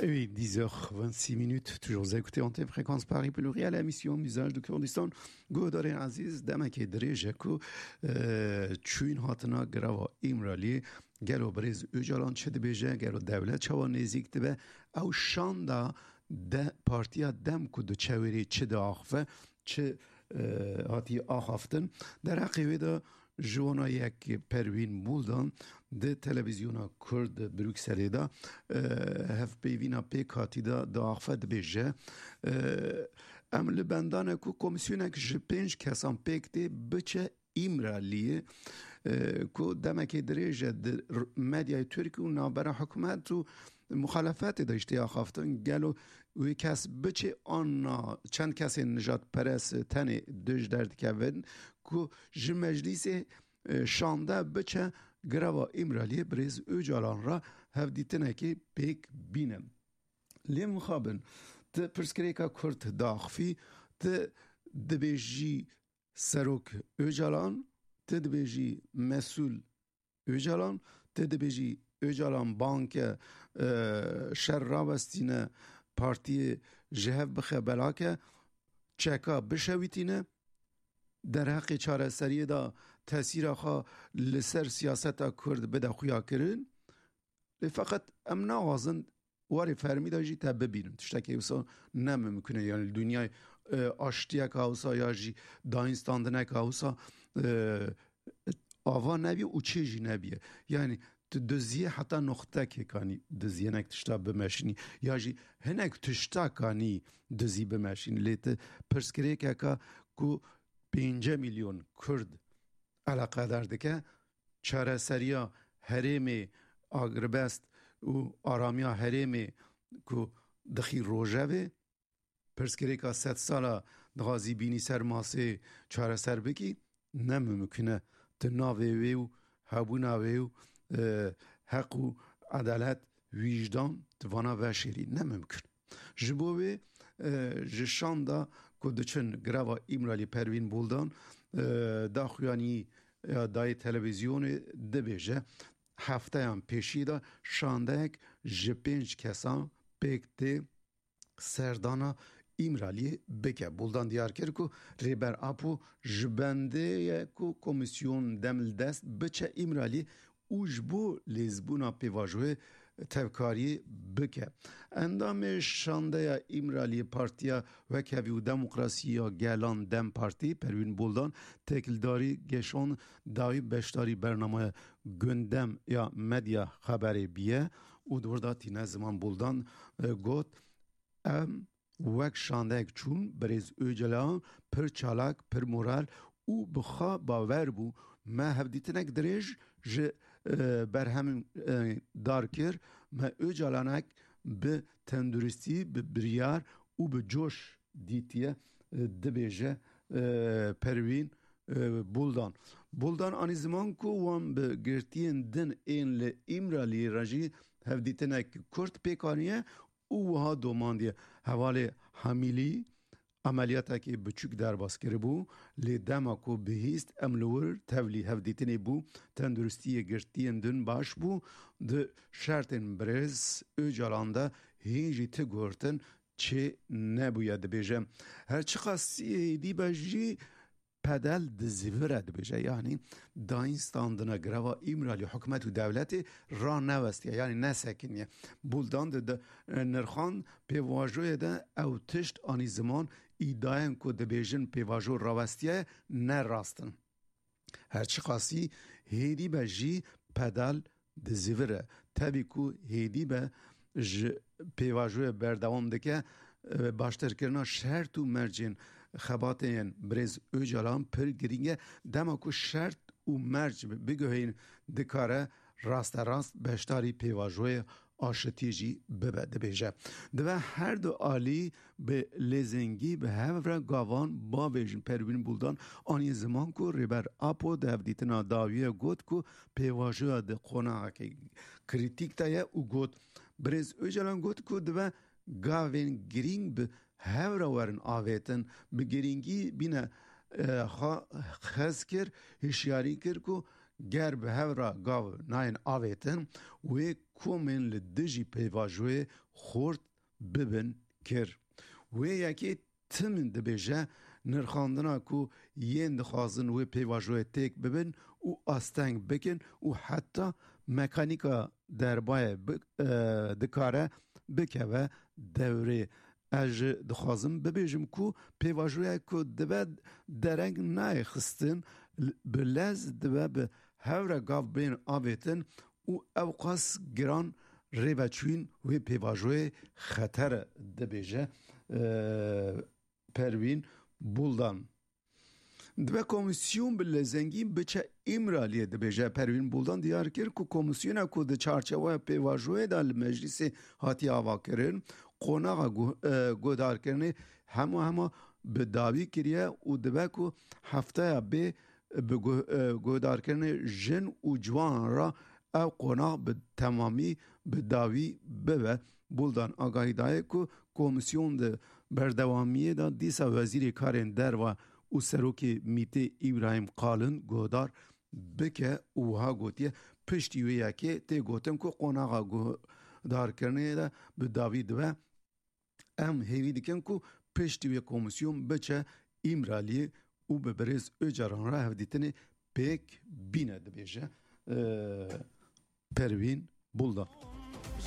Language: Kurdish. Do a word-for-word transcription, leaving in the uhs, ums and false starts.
Oui, dix heures vingt-six minutes, toujours vous écoutez Antenne Fréquence Paris Pluriel, émission Visage du Kurdistan. Guhdarên ezîz, demekê dirêj e ku, e, çûyîn hatina girava Îmraliyê, gelo birêz Ocalan çi dibêje, gelo dewlet çawa nêzîk dibe, ew şanda de, partiya dem ku diçe wêrê çi diaxife, çi, e, hatiye axaftin. Derheqê wê de ji wana yek Perwîn Buldan di televîzyona Kurd Brukselê de, e, hevpeyvîna pêk hatî de diaxife, dibêje, e, em li benda ne ku komîsyonek ji pênc kesan pêk tê biçe Îmraliyê, e, ku demekê dirêj e di r-, medyayê Tirk û navbera hikûmet û muxalefetê de jî tê axaftin. Gelo wê kes biçe an na çend kesên nijadperest tenê dij derdikevin ku ji meclîsê, e, şande biçe girava Îmraliyê birêz Ocalan re hevdîtinekê pêk bîne. Lê mixabin, ti pirsgirêka Kurd daxifî, ti dibêjî Serok Ocalan, ti dibêjî Mesûl Ocalan, ti dibêjî Ocalan banke, e, şer rawestîne, partiyê ji hev bixe belake, çeka bişewitîne, derheqê çareseriyê de tesîra xwe li ser siyaseta Kurd bide xuyakirin. Lê feqet em naxwazin warê fermî de jî te bibînin. Tiştekî wisa ne mimkun e. Yani li dinyayê, e, aştiyeka wisa ya jî dayînstandineka wisa, e, ava nebî û çê jî nebîye. Yani tu diziyê heta noxtekê kanî diziyê, hinek tişta bimeşînî. Ya jî hinek tişta kanî dizî bimeşînî. Lê tu pirsgirêkeka ku pênce milyon Kurd eleqedar dike, çareseriya herêmê, agirbest û aramiya herêmê ku dixî rojevê, pirsgirêka sedsala dixwazî bînî ser masê çareser bikî, ne mimkun e. Tu navê wê û hebûna wê û, e, heq û edalet, wîjdan, tu vana veşêrî, ne mimkun. Ji bo wê, e, ji şanda ku diçin girava Îmralî, Pervîn Buldan, e, daxuyanî ya dayê televîzyonê, dibêje, hefteyan pêşî de şandeyek ji pênc kesan pêk tê serdana Îmraliyê bike. Buldan diyar kir ku Rêber Apo ji bendê ye ku komîsyon dem li dest biçe Îmraliyê û ji bo lêzbûna pêvajoyê tevkariyê bike. Endamê şandeya Îmraliyê Partiya Wekhevî û Demokrasî ya Gelan, dem Partî, Perwîn Buldan têkildarî geşand dawî beşdarî bernameya Gundem ya Medya Xeberê biye û di wir de tîne ziman. Buldan, e, got, Em wek şandeyek çûn, birêz Ocalan pir çalak, pir moral û bi xwe bawer bû. Me hevdîtinek dirêj ji, e, berhemên, e, dar kir. Me Ocalanek bi tenduristî, bi biryar û bi coş dîtiye, e, dibêje, e, Perwîn, e, Buldan. Buldan anî ziman ku wan bi girtiyên din ên li Îmraliyê re jî hevdîtinek kurt pêk aniye û wiha domandiye, hevalê Hamîlî emeliyatekî biçûk derbas kiribû, lê dema ku bihîst, em li wir tevlî hevdîtinê bû, tenduristiyê girtiyên din baş bû, di şertên birêz Ocalan de hîn jî ti guhertin çê nebûye, dibêje. Her çiqas êdî be jî, pedal dizivire, dibêje. Yanî dayînstandina girava Îmralî hikûmet û dewletê ranewestiye, yanî nesekiniye. Buldan di, di, nirxan pêvajoyê de ew tişt anî ziman, îdayên ku dibêjin pêvajo rawestiye ne rast in. Her çiqasî hêdî be jî pedal dizivire. Tevî ku hêdî be ji pêvajoyê berdewam dike, e, baştirkirina şert û mercên xebatê yên birêz Ocalan pir girîng e. Dema ku şert û merc biguheyîn, dikare rasterast beşdarî pêvajoyê aşitî jî bibe, dibêje. Divê her du alî bi lêzengî bi hev re gavan bavêjin. Pervîn Buldan anî ziman ku Rêber Apo di hevdîtina dawiyê got ku pêvajoya di qonaxekî krîtîk de ye û got, Birêz Ocalan got ku divê gavên girîng bi hev re werin avêtin, bi girîngî bîne, e, xwe hez kir, hişyarî kir ku ger bi hev re gav nayên avêtin, wê komên li dijî pêvajoyê xurt bibin kir. Wê yekê tim dibêje, nirxandina ku yên dixwazin wê pêvajoyê têk bibin û asteng bikin û heta mekanîka derbayê bi-, e, dikare bikeve dewrê. Ez jî dixwazim bibêjim ku pêvajoya ku dibe dereng nayê xistin, l-, bi lez dibe bi hev re gav bên avêtin û ewqas giran rêveçûyîn wê pêvajoyê xeter e, dibêje, e, Perwîn Buldan. Dibe komîsyon bi lezengî biçe Îmraliyê, dibêje Perwîn Buldan. Diyar kir ku komîsyona ku di çarçeweya pêvajoyê de li meclîsê hatiye avakirin, qonaxa gu-, e, guhdarkirinê hema hema bi dawî kiriye û dibe ku hefteya bê bi gu-, e, guhdarkirinê jin û ciwanan re ev qonax bi temamî bi dawî bibe. Buldan agahî daye ku komîsyon di berdewamiyê de dîsa Wezîrê Karên Derve û Serokê Mîtê Îbrahîm Qalin guhdar bike û wiha gotiye, piştî wê yekê tê gotin ku qonaxa guhdarkirinê de bi dawî dibe. Em hêvî dikin ku piştî wê komîsyon biçe Îmraliyê û bi birêz Ocalan re hevdîtinê pêk bîne, dibêje, e, Perwîn Buldan.